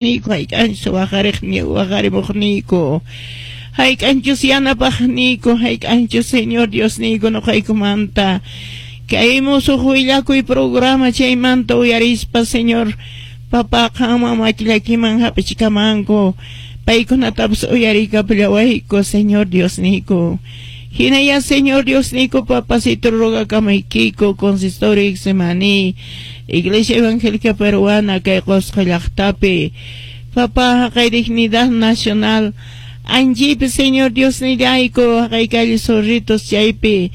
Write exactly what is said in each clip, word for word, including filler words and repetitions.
Niku hayk'anchus waqariqni waqarimuqniyku hayk'anchus yanapaqniyku hayk'anchus Señor Diosniyku nuqaykumanta kay musuq willakuy programa chaymanta uyarispa Señor Papá qanman makillakiman hap'ichikamanku paykunatapas uyariykapullawayku Señor Diosniyku. Hinaya Señor Diosniyku papacito rogakamaykiku consistorio Getsemaní Iglesia Evangélica Peruana kay Qusqu llaqtapi Papá haqay Dignidad Nacional anchipi Señor Diosnillayku haqay calle Zorritos chaypi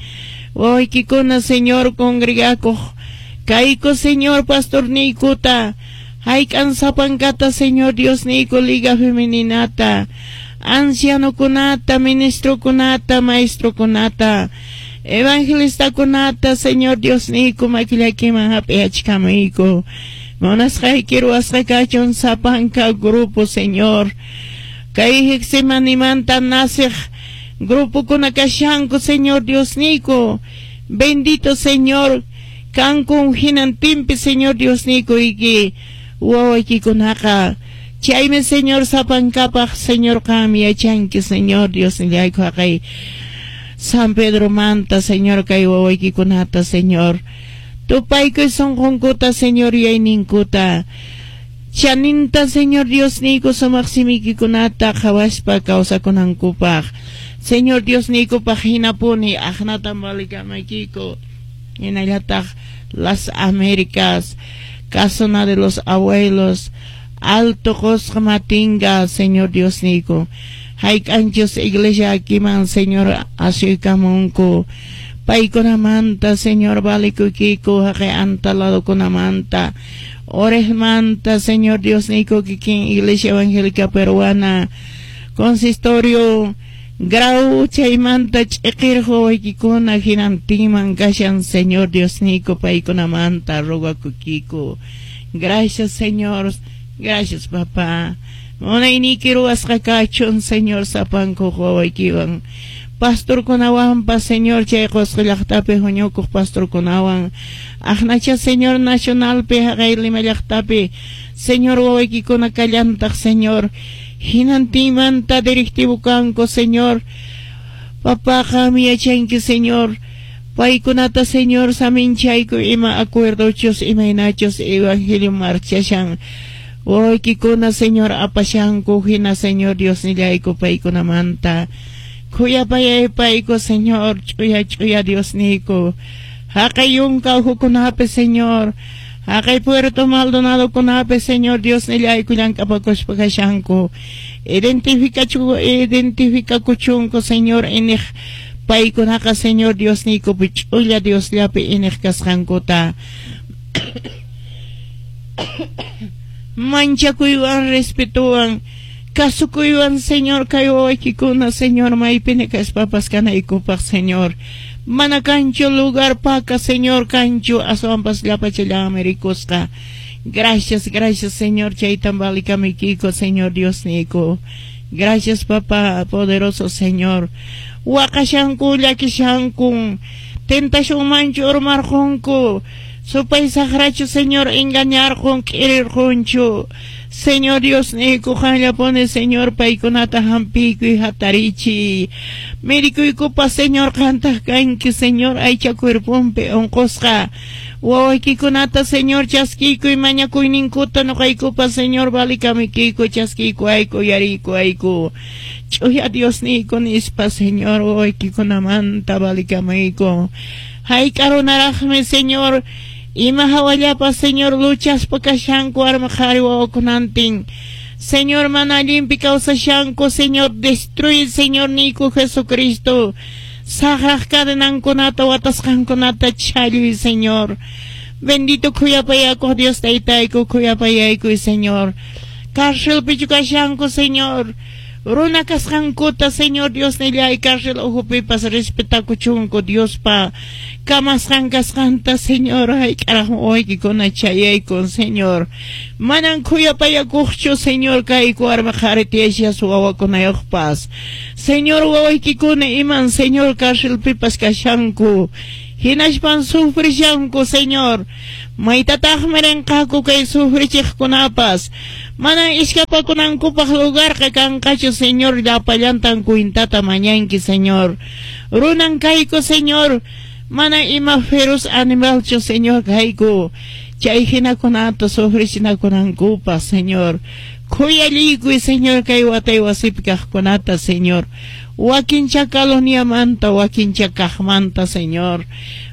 wawaykikuna Señor congregakuq kayku Señor pastorniykuta hayk'an sapankata Señor Diosniyku Liga Femeninata ancianokunata, ministrokunata, maestrokunata, evangelistakunata, Señor Diosniyku makillakiman hap'iyachkamuyku. Munasqayki ruwasqa kachun sapanka grupo, Señor. Kay Getsemanimanta naciq grupokuna kashanku, Señor Diosniyku. Bendito Señor, kankun hinantinpi, Señor Diosniyku iki wawaykikunaqa. Chaymi Señor sapankapaq, Señor qam yachanki, Señor Diosnillayku haqay San Pedro manta, Señor kay wawaykikunata, Señor. Tupaykuy sunqunkuta, Señor yuyayninkuta. Chaninta, Señor Diosniyku sumaq simiykikunata qhawaspa kawsakunankupaq. Señor Diosniykupaq hinapuni aqnatan valikamaykiku. Hinallataq las Américas, Casona de los Abuelos, Alto Qusqu Matinga, Señor Diosniyku. Hayk'anchus iglesia akiman, Señor, asuykamunku. Paykunamanta, Señor, valikuykiku, haqay antaladokunamanta. Orejmanta, Señor Diosniyku, kikin Iglesia Evangélica Peruana, Consistorio, Grau chaymanta ch'iqirqu wawaykikuna hinantinman kashan, Señor Diosniyku, paykunamanta rogakuykiku. Gracias, Señor. Gracias, papá. Munayniyki ruwasqa kachun, Señor, sapankuq wawaykiwan. Pastorkunawanpas, Señor, chay Qusqu llaqtapi huñukuq pastorkunawan. Aqnacha, Señor, nacionalpi haqay Lima llaqtapi, Señor, wawaykikuna kallantaq, Señor. Hinantinmanta directivo kanku, Señor. Papá, qam yachanki, Señor. Paykunata, Señor, saminchayku ima acuerdochus, imaynachus evangelio marchashan. Wawaykikuna, Señor, apashanku, hina, Señor, Diosnillayku paykunamanta. Khuyapayaypayku, Señor, ch'uya ch'uya Diosniyku. Haqay yunka ukhukunapi, Señor. Haqay Puerto Maldonado kunapi, Señor, Diosnillayku llank'apakuspa kashanku. Identifikachu, identifikakuchunku, Señor, iniq paykunaqa, Señor, Diosniykupi ch'ulla Diosllapi iniq kasqankuta. Manchakuywan, respetuwan, kasukuywan, Señor, kay wawaykikuna, Señor, maypini kaspapas kanaykupaq, Señor. Mana kanchu lugar paka, Señor, kanchu aswanpas llapachallanmi rikusqa. Gracias, gracias, Señor, chaytan valikamuykiko, Señor Diosniyku. Gracias, papá, poderoso Señor. Waqashanku, llakishankun, tentacionmanchu urmarqunku. Supay saqrachu, Señor, engañarqun, k'irirqunchu. Señor Diosniyku, qanllapuni, Señor, paykunata hampiykuy hatarichiy. Medikuykupas, Señor, qantaq kanki, Señor, aycha cuerponpi unqusqa. Wawaykikunata, Señor, chaskiykuy mañakuyninkuta nuqaykupas, Señor, valikamikiyku, chaskiykuayku, yariykuayku. Ch'uya Diosniyku nispa, Señor, wawaykikunamanta valikamayku. Hayk'a runaraqmi, Señor, ima hawallapas, Señor, luchaspa kashanku warmi qhari wawakunantin. Señor, mana allinpi kawsashanku, Señor, destruye, Señor, niyku Jesucristo. Saqraq cadenankunata, watasqankunata challuy, Señor. Bendito khuyapayakuq Dios taytayku, khuyapayaykuy, Señor. Cárcelpichu kashanku, Señor. Runa kasqankuta, Señor Diosnillay, cárcel ukhupipas respetakuchunku Diospa kamasqan kasqanta, Señor, hayk'araq wawaykikuna chayaykun, Señor. Manan khuyapayakuqchu, Señor, kayku warmi qhari tiyashas wawakunayuqpas. Señor, wawaykikuna iman, Señor, cárcelpipas kashanku. Hinaspan sufrishanku, Señor. Maytataqmi rinqaku kay sufrichiqkunapas. Mana iskapakunankupaq lugarqa kanqachu, Señor, llapallantan cuentata mañanki, Señor. Runan kayku, Señor, mana ima feroz animalchu, Señor, kayku. Chay hinakunata sufrichinakunankupaq, Señor. Khuyallikuy, Señor, kay watay wasipi kaqkunata, Señor. Wakincha coloniamanta, wakincha kaqmanta, Señor.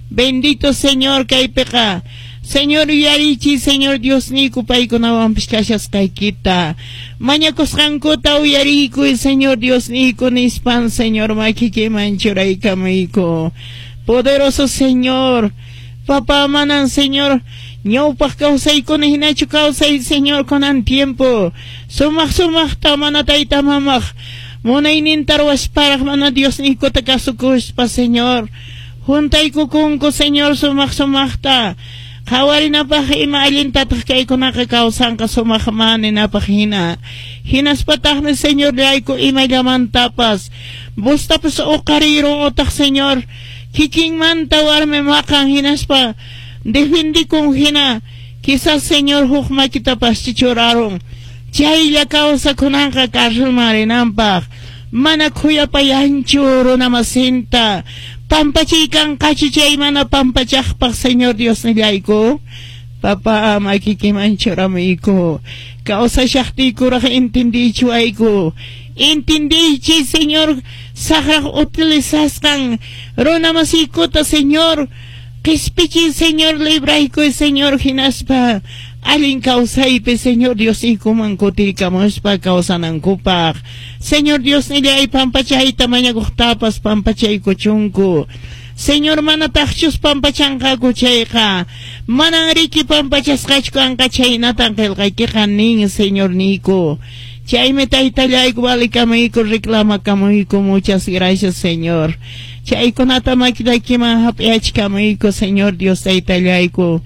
Bendito Señor, kaypiqa. Señor, uyarichiy, Señor Diosniyku, paykunawanpis kashasqaykita. Mañakusqankuta uyariykuy, Señor Diosniyku, nispan, Señor, makikiman churaykamuyku. Poderoso Señor, Papá manan, Señor, ñawpaq kawsaykuna hinachu kawsay, Señor, kunan tiempo. Sumaq sumaqta mana tayta mamaq munayninta ruwasparaq mana Diosniykuta kasukuspa, Señor. Juntaykukunku, Señor, sumaq sumaqta. Qhawarinapaq ima allintataq kaykunaqa kawsanqa sumaq maninapaq hina. Hinaspataqmi, Señor, llayku imallamantapas. Bustapas uqarirun utaq, Señor, kikinmanta warmi maqan hinaspa defendikun hina. Quizás, Señor, huk makitapas chichurarun. Chaylla kawsakunanqa carcelman rinanpaq. Mana khuyapayanchu runamasinta. Pampachaykanqachu chay mana pampachaqpaq, Señor Diosnillayku. Papá, makikiman churamuyku. Kawsashaqtiykuraq entendichiwayku. Entendiychi, Señor, saqraq utilizasqan runamasiykuta, Señor. Qispichiy, Señor, libraykuy, Señor, hinaspa allin kawsaypi, Señor Diosniykuman kutirikamuspa kawsanankupaq. Señor Diosnillay, pampachayta mañakuqtapas pampachaykuchunku. Señor, manataqchus pampachanqaku chayqa, manan riki pampachasqachu kanqa chaynatan qillqaykiqa nin, Señor niyku. Chaymi taytallayku valikamayku reclamakamuyku, muchas gracias, Señor. Chaykunata makillaykiman hap'iyachkamuyku, Señor Dios taytallayku.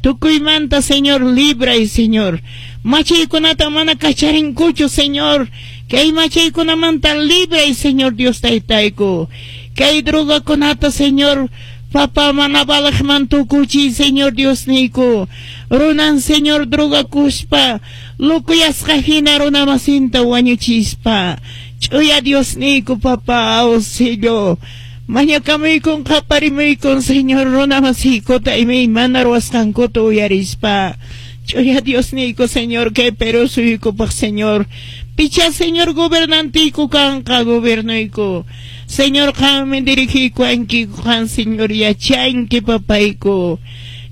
Tukuymanta, Señor, libray, Señor. Machaykunata mana kacharinkuchu, Señor. Kay machaykunamanta libray, Señor Dios taytayku. Kay drogakunata, Señor, Papá mana balaqman tukuchiy, Señor Diosniyku. Runan, Señor, drogakuspa, lukuyasqa hina runamasinta wañuchispa. Ch'uya Diosniyku, Papá, auxilio. Mañakamuykun qaparimuykum, Señor, runamasiykuta imaymana ruwasqankuta uyarispa. Ch'uya Diosniyku, Señor, kay Perú suyukupaq, Señor. Picha, Señor, gobernantiyku kanqa, gobernuyku. Señor, qanmi dirigiykuwankiku, qan, Señor, yachanki, papayku.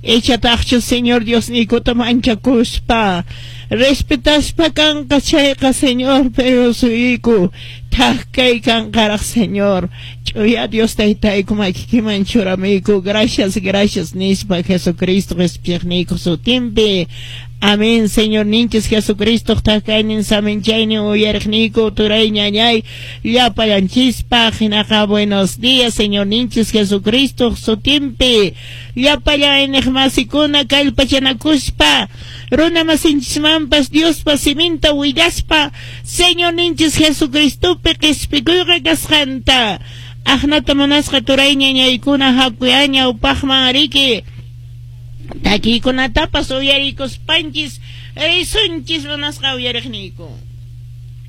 Echataqchu, Señor Diosniykuta manchakuspa. Respetaspa kanqa chayqa, Señor, Perú suyuyku. Thak kay kanqaraq, Señor. Ch'uya Dios taytayku makikiman churamuyku. Gracias, gracias nispa Jesucristo qhispiqniyku sutinpi. Amén, Señor ninchis Jesucristo thak kaynin saminchaynin uyariqniyku turay ñañay llapallanchispaq. Hinaqa buenos días, Señor ninchis Jesucristo sutinpi. Llapallan iñiqmasikuna kallpachanakuspa runa masinchismanpas Diospa siminta willaspa Señor ninchis Jesucristopi qispikuyqa kasqanta. Aqnata munasqa turay ñañaykuna hakuya ñawpaqman riki. Takiykunatapas uyarikuspanchis risunchis munasqa uyariqniyku.